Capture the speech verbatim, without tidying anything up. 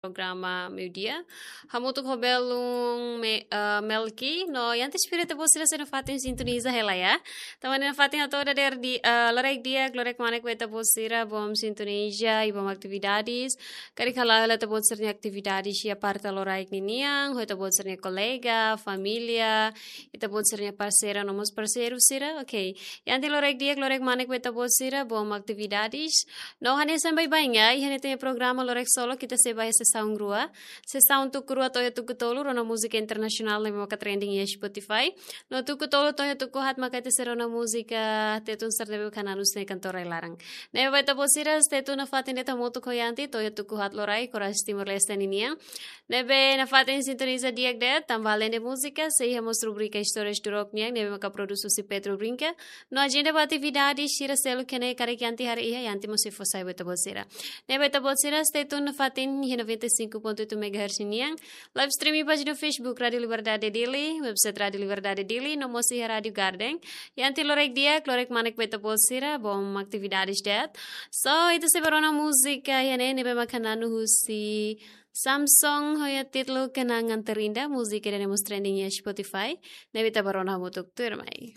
programa meiudia. Hamutuk ho belun Me, eh, Melki, no iha ita espera ita-boot sira sei nafatin sintoniza hela ya. Tanba ne'e nafatin hato'o dadeer di, eh, loraik di'ak, loraik kmanek ba ita-boot sira, bom sintoniza, i bom atividades. Karik hala'o hela ita-boot sira-nia atividades iha parte loraik ninian, ho ita-boot sira-nia kolega, família, ita-boot sira-nia parseira, no mós parseiru sira, ok. Iha ita loraik di'ak, loraik kmanek ba ita-boot sira, bom atividades. No hanesan baibain ya, iha ita-nia programa loraik solok ita sei ba iha sesaun rua. Sesaun tuku rua to'o iha tuku tolu, rona múzika internasionál ne'ebé maka trending iha Spotify. No tuku tolu to'o iha tuku haat maka ita sei rona múzika Tetun sira ne'ebé maka nanus ne'e kantor rai laran. Ne'ebé ba ita-boot sira, stay tune nafatin de'it hamutuk ho iha ita to'o iha tuku haat loraik, oras Timor-Leste ninian. Ne'ebé nafatin sintoniza di'ak de'it, tanba alende múzika, sei iha mós rubrika Istórias Durok nian, ne'ebé maka produs husi Pedro Brinca. No ajenda ba atividades sira seluk ne'e karik iha ita haree iha, iha ita mós sei fó sai ba ita-boot sira. Ne'ebé ita-boot sira, stay tune nafatin iha noventa e cinco ponto oito megahertz nian. Live streaming pájina Facebook Rádio Liberdade Dili, website Rádio Liberdade Dili, no mós iha Rádio Garden. Iha ita loraik di'ak, loraik kmanek ba ita-boot sira, bom atividades de'it. So, ita sei ba rona múzika iha ne'e, ne'ebé maka nanu husi Samson ho iha títulu Kenangan Terindah, múzika ida-ne'e mós trending iha Spotify. Ne'ebé ita ba rona hamutuk tuirmai.